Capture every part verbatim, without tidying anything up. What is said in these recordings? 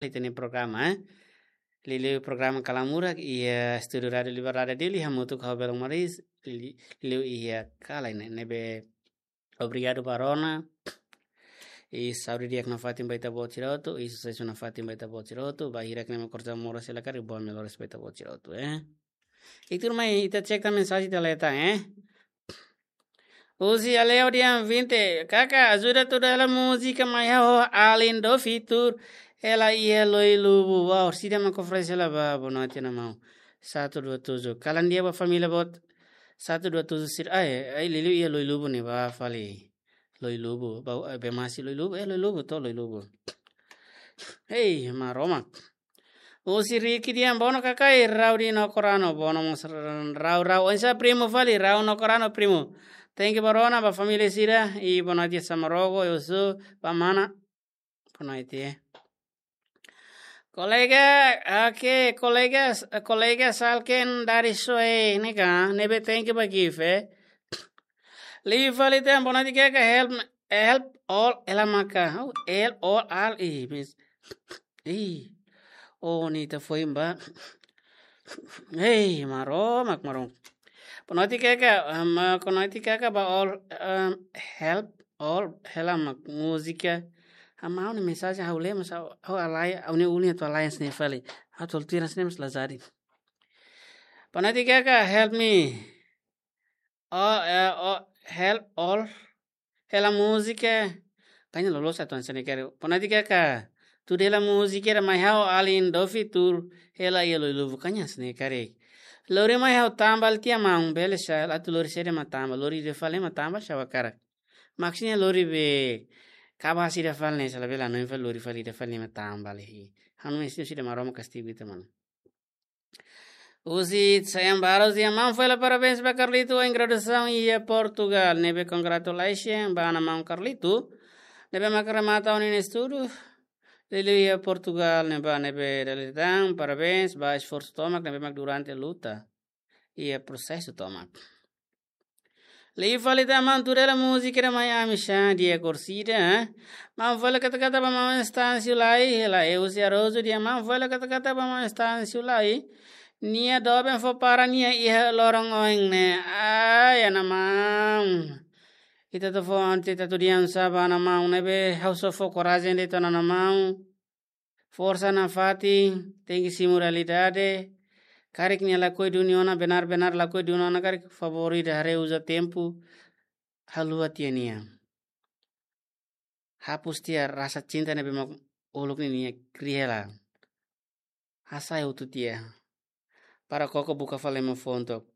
ita-nia programa, eh. Liuliu programa Kalan Murak iha estúdiu Rádiu Liberdade Dili, hamutuk ho Belong Maris, li-, liuliu iha kalan ne'e, ne'ebé obrigadu ba rona. I saúde di'ak nafatin ba ita-boot sira hotu, i susesu nafatin ba ita-boot sira hotu, ba hirak ne'e mak korja moras hela karik, boa melhores ba ita-boot sira hotu, eh. I tuirmai ita cek tan mensajen ita leta, eh. Husi Aleo dia vinte, kaka, ajuda tuda hela múzika mai ha'u alin do fitur, hela iha Loi Lubu. Wow, sida mak oferese hela ba, boa noite, mana maun. Satu dua tujuh. Kalan di'ak ba família boot. Satu dua tujuh sira, ai, ai, liuliu iha Loi Lubu ne'e ba fali. Loi Lubu, ba, eh, be masi Loi Lubu, eh, Loi Lubu, to Loi Lubu. Hei, Maromak. Husi Riki dia, bono kakai, rau di no korano, bono mós rau, rau, oinsá primo fali, rau no korano primo. Thank you ba rona, ba família sira, i boa noite Samarogo, eu sou, ba mana. Boa noite, eh. Kolega, oke, kolega, kolega Salken dari Soe, ne'e ka, ne'ebé thank you ba gift, eh. Liu fali tan, boa noite kaka, help, help all, hela maka. Oh, help all, all, ih, mis. Ih. Oh, ne'e ita foin ba. Hei, Maromak, Maromak. Boa noite kaka, um, boa noite kaka ba all, um, help all, hela mak múzika. Ha'u-nia mensajen ha'u lee, mas ha'u, ha'u alai, ha'u-nia ulun atu alai hanesan ne'e fali. Ha'u atu tuir hanesan ne'e mas la jadi. Boa noite kaka, help me. Oh, eh, oh, help all. Hela múzika. Kaña loloos atu hanesan ne'e karik. Boa noite kaka. Tuda hela múzika ida mai ha'u alin do fitur. Hela iha Loi Lubu, kaña hanesan ne'e karik. Lori mai ha'u tambal tiha maun, bele sá, atu lori saida mak tambal, lori ida fali mak tambal sá hakarak. Maksudnya lori be kaba sira fali ne'e, sala bela no infal lori fali ida fali mak tambal, eh. Ha'u-nia mesin sira Maromak kastigu ita, mana. Husi Sayang Barros dia, maun fó hela parabéns ba Carlito em graduação iha Portugal. Ne'ebé congratulations ba mana maun Carlito. Ne'ebé mak remata ona nia estudu. Liuliu iha Portugal ne'ebá, ne'ebé dala ida tan, parabéns ba esforsu tomak ne'ebé mak durante luta iha prosesu tomak. Liu fali tan maun, tuda hela múzika ida mai ami sá, dia korsida, eh. Maun fó hela kata-kata ba maun Estâncio Lai, hela eu se arozu dia, maun fó hela kata-kata ba maun Estâncio Lai. Nia doben fó para nia iha loron oin ne'e. Ai, mana maun. Ita atu fó ante ita atu diam sá ba mana maun ne'ebé ha'u só fó korajen de'it ona, mana maun. Forsa nafatin, tenke simu realidade. Karik nia lakohi duni ona, benar-benar lakohi duni ona karik, favór ida haree, uza tempu, haluha tiha nia. Hapus tiha rasa cinta ne'ebé mak uluk ne'e nia kria hela. Hasai hotu tiha. Para koko buka fali ema fonto.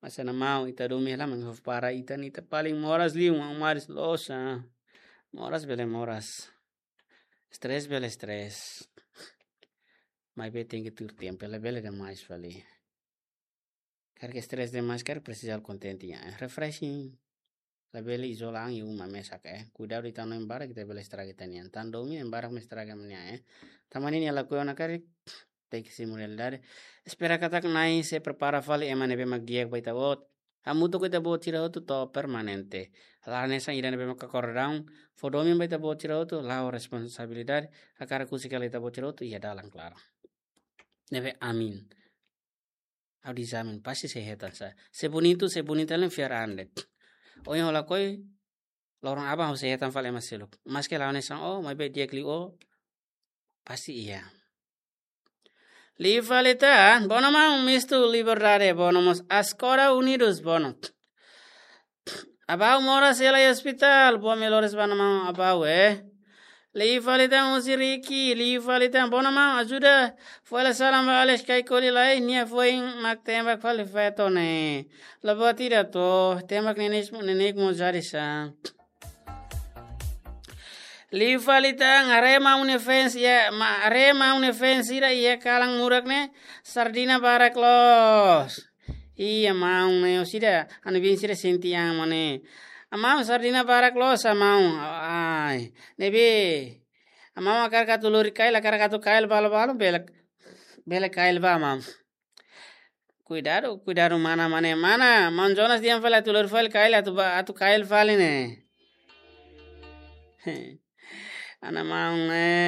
Mas mana maun, ita domin hela, maun, para ita ne'e ita paling moras liu, maun, maris losa. Moras bele moras. Stress bele stress. Maibé tenke tuir tempu, labele demais fali. Karik stress demais, karik presiza halo kontente, ya. Refreshing. Labele izola an iha uma mesak, eh. Kuidadu ita hanoin barak, ita bele estraga ita-nia an. Tan domin, ema barak mak estraga ema nia an, eh. Tan mane nia lakohi ona karik, tenke simu realidade. Espera katak Na'i sei prepara fali ema ne'ebé mak di'ak ba ita-boot. Hamutuk ho ita-boot sira hotu to'o permanente. La hanesan ida ne'ebé mak akordaun, fó domin ba ita-boot sira hotu, la'o responsabilidade, hakarak husik hela ita-boot sira hotu iha dalan klaran. Ne'ebé amin. Ha'u dezamin, pasti sei hetan sá. Se bonitu, se bonita hela fiar an de'it. Ohin ha'u lakohi, loron aban ha'u sei hetan fali ema seluk. Maske la'o hanesan ó, maibé di'ak liu ó, pasti iha. Liu fali tan, bono maun, mistu Liberdade, bono mós Askora Unidos, bono. Abau moras hela iha ospitál, boa melhores ba mana maun Abau, eh. Liu fali tan husi Riki, liu fali tan, bono maun, ajuda fó hela salam ba Alex Kaikoli lai, nia foin mak tembak fali feto ne'e. La buat ida to, tembak neineik, neineik mós jadi sá. Liu fali tan, haree maun nia fans, ya, ma-, haree maun nia fans sira iha Kalan Murak ne'e, sardina barak loos. Iya, maun, ne'e, orsida, ha'u-nia biin sira sente an, mane. Maun, sardina barak loos, maun. Ai, ne'ebé. Maun hakarak atu lori kail, hakarak atu kail balu-balu, bele, bele kail ba, maun. Kuidadu, kuidadu mana, mane, mana. Maun Jonas dehan fali atu lori fali kail, atu ba, atu kail fali ne'e. Ana maun ne.